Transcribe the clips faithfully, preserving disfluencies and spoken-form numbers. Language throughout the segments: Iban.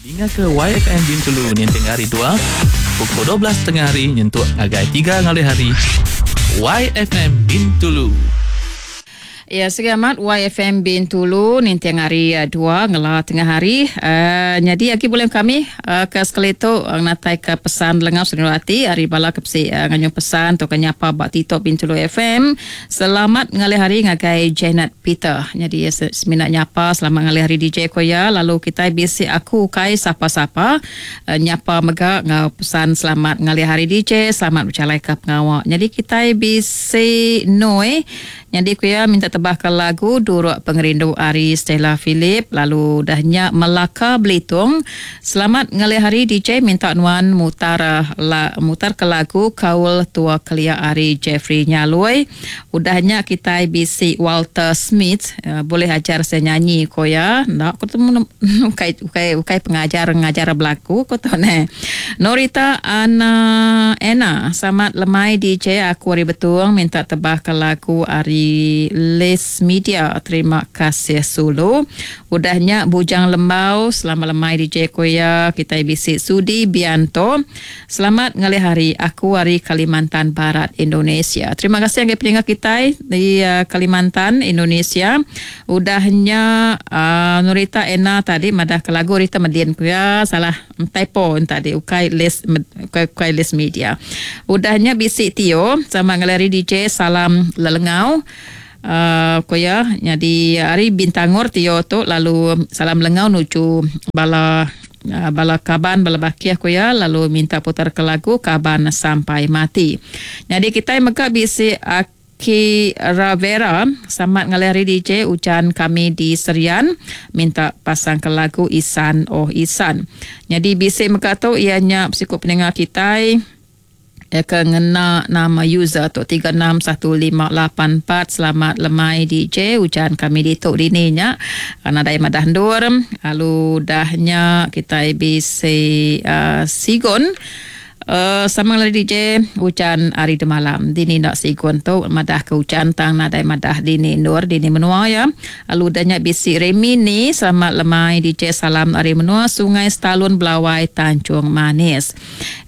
Dinga ke Y F M Bintulu ninting hari dua pukul dua belas tengah hari nyentuk ngagai tiga ngalih hari. Y F M Bintulu. Ya, selamat Y F M Bintulu ninting hari dua ngela tengah hari. Uh, jadi lagi boleh kami uh, ke sekali tu uh, natai ke pesan lengap senurati hari bala ke pesi uh, nganyu pesan tu kenyapa bak TikTok Bintulu F M. Selamat ngalih hari ngagai Janet Peter. Jadi ya, seminat nyapa selamat ngalih hari D J koya lalu kita bisi aku kai sapa-sapa uh, nyapa mega ngau pesan selamat ngalih hari D J, selamat berjalai ke pengawak. Jadi kita bisi noi. Jadi kuya minta tebahkan lagu Duruk Pengerindu ari Stella Philip lalu dahnya Melaka Belitung. Selamat ngalih hari D J minta nuan mutar la, mutar ke lagu Kaul Tua Kelia ari Jeffrey Nyaloi. Udahnya kita bisi Walter Smith uh, boleh ajar saya nyanyi koya. Ndak aku tu ukai ukai ukai pengajar ngajar berlaku ko tu ne. Norita Ana Ena selamat lemai D J aku ari Betung minta tebahkan lagu ari Les Media. Terima kasih Sulu. Udahnya Bujang Lembau selamat lemai D J Koya kita bisi Sudi Bianto. Selamat ngalih hari aku hari Kalimantan Barat Indonesia. Terima kasih yang pendengar kita di uh, Kalimantan Indonesia. Udahnya uh, Nurita Ena tadi madah ke lagu Rita Medin kuya salah typo tadi ukai Les ukai, ukai Les Media. Udahnya bisi Tio sama ngalih hari D J salam lelengau. Uh, koya jadi hari Bintangor Tio tu lalu salam lengau nuju bala uh, bala kaban bala bakiah koya lalu minta putar ke lagu Kaban Sampai Mati. Jadi kita mega bisi Aki Ravera selamat ngalih hari D J ujan kami di Serian minta pasang ke lagu Isan Oh Isan. Jadi bisi mega tu ianya psikop pendengar kita ya ke ngena nama user tu tiga enam satu lima lapan empat. Selamat lemai D J ujan kami di tok dininya nadai madah ndur lalu dahnya kita bisi uh, Sigon Uh, sama lagi D J hujan hari malam dini nak sigon tu madah ke hujan tang nadai madah dini nur dini menua ya. Lalu danya bisi Remi ni selamat lemai D J salam hari menua Sungai Stalun Belawai Tanjung Manis.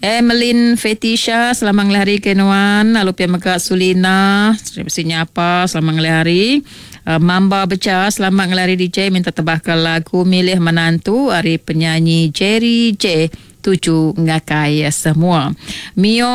Emelin Fetisha selamat ngalih hari kenuan lalu pia mega Sulina bisi nyapa selamat ngalih hari. Uh, Mamba Beca selamat ngalih hari D J minta tebahkan lagu Milih Menantu hari penyanyi Jerry J tuju ngakai semua. Mio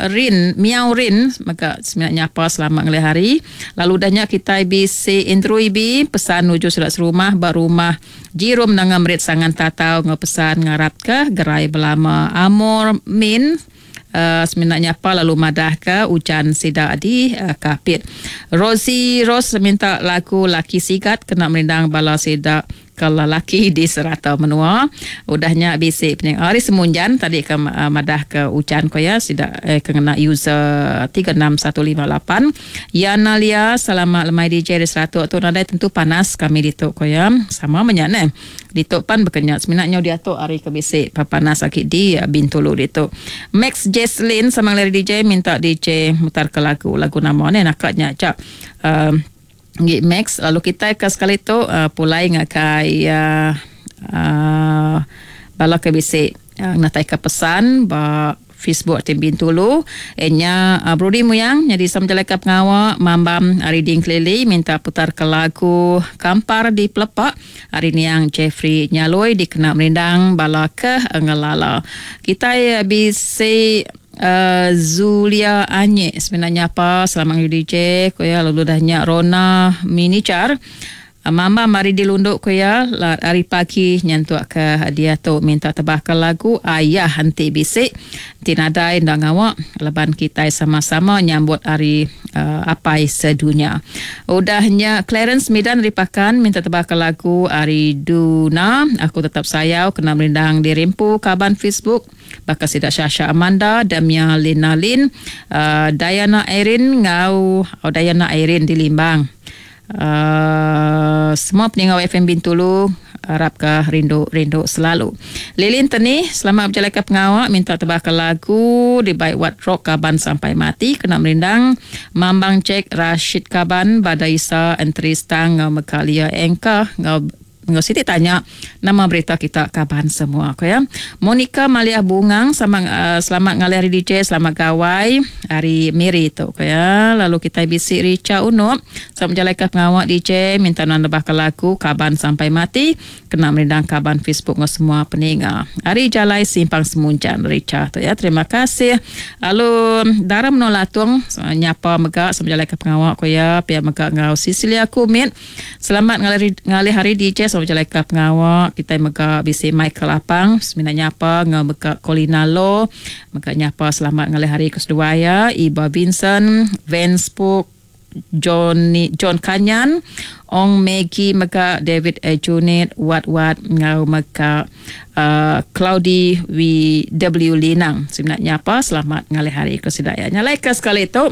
Rin, Miao Rin maka sebenarnya apa selamat ngalih hari. Lalu dahnya kita bisi Indru Ibi pesan nuju surat serumah barumah Jirum nangam rit sangan tatau ngepesan ngarap ke gerai belama Amor Min. Uh, sebenarnya apa lalu madah ke hujan sida di uh, Kapit. Rosie Rose minta lagu Laki Sigat kena merindang bala sida kalau laki di serata menua. Udahnya bisi pening hari semunjan tadi ke uh, madah ke hujan ko ya sida eh, kena user tiga enam satu lima lapan. Yana Lia selamat lemai D J di serata tu nadai tentu panas kami di tok ko ya sama menyane. Di tok pan berkenyak seminatnya dia tok hari ke bisi panas sakit di uh, Bintulu di tok. Max Jesslyn sama ngalih D J minta D J mutar ke lagu lagu nama ni nakatnya cak. Uh, Ngi Max lalu kita ke sekali tu uh, pulai ngakai uh, uh, bala ke bisi uh, natai ke pesan ba Facebook tim Bintulu enya uh, Brody Muyang jadi sama jalan ke pengawak Mambam hari Ding Kelili minta putar ke lagu Kampar di Pelepak hari ni yang Jeffrey Nyaloi dikena merindang bala ke ngelala kita uh, bisi Uh, Zulia Anyek sebenarnya apa selamat D J koya lalu dahnya Rona Minichar uh, Mama mari dilunduk koya hari pagi nyentuk ke dia tu minta tebahkan lagu Ayah Henti Bisik tinadai ndak ngawak leban kita sama-sama nyambut hari uh, apai sedunia. Udahnya Clarence Midan ripakan minta tebahkan lagu hari Duna Aku Tetap Sayau kena merindang di Rimpu kaban Facebook bakal sidak Syasha Amanda Damia Lina Lin uh, Diana Erin ngau oh, Diana Erin di Limbang. Uh, semua pendengar F M Bintulu harapkah rindu-rindu selalu. Lilin Teni selamat berjalan ke pengawak minta tebahkan lagu di Baik Wat Rock Kaban Sampai Mati kena merindang Mambang Cek Rashid Kaban Badaisa Entri Stang ngau Mekalia Engka ngau Enggau siti tanya nama berita kita kaban semua ko ya. Monica Maliah Bungang sama uh, selamat ngalih hari D J, selamat gawai hari Miri tu ko ya. Lalu kita bisi Richa Unop sama menjalankan pengawak D J minta nan lebah ke lagu Kaban Sampai Mati kena merindang kaban Facebook ngau semua peninga. Hari Jalai Simpang Semunjan Richa tu ya. Terima kasih. Lalu Dara Menolatung nyapa mega sama menjalankan pengawak ko ya. Pia mega ngau Cecilia Kumit. Selamat ngalih, ngalih hari D J sama menjalankan pengawak. Kita mega bisi Michael Apang semina nyapa ngau mega Colina Lo mega nyapa selamat ngalih hari ke seduai ya. Iba Vincent, Vance Puk, Johnny John Kanyan, Ong Maggie mega David Ejunit, Wat Wat ngau mega uh, Cloudy W W Linang. Sebenarnya apa selamat ngalih hari ke sedaya. Nyalaika sekali tu.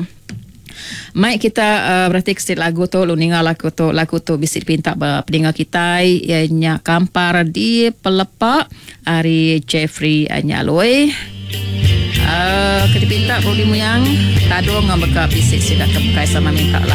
Mai kita uh, berarti kesit lagu tu, lu ninga lagu tu, lagu tu bisi pinta peninga kita ianya Kampar di Pelepak ari Jeffrey Nyaloi. Uh, kita pinta Rudi Muyang tadung ngau mega bisi sida ke bukai sama minta lagu.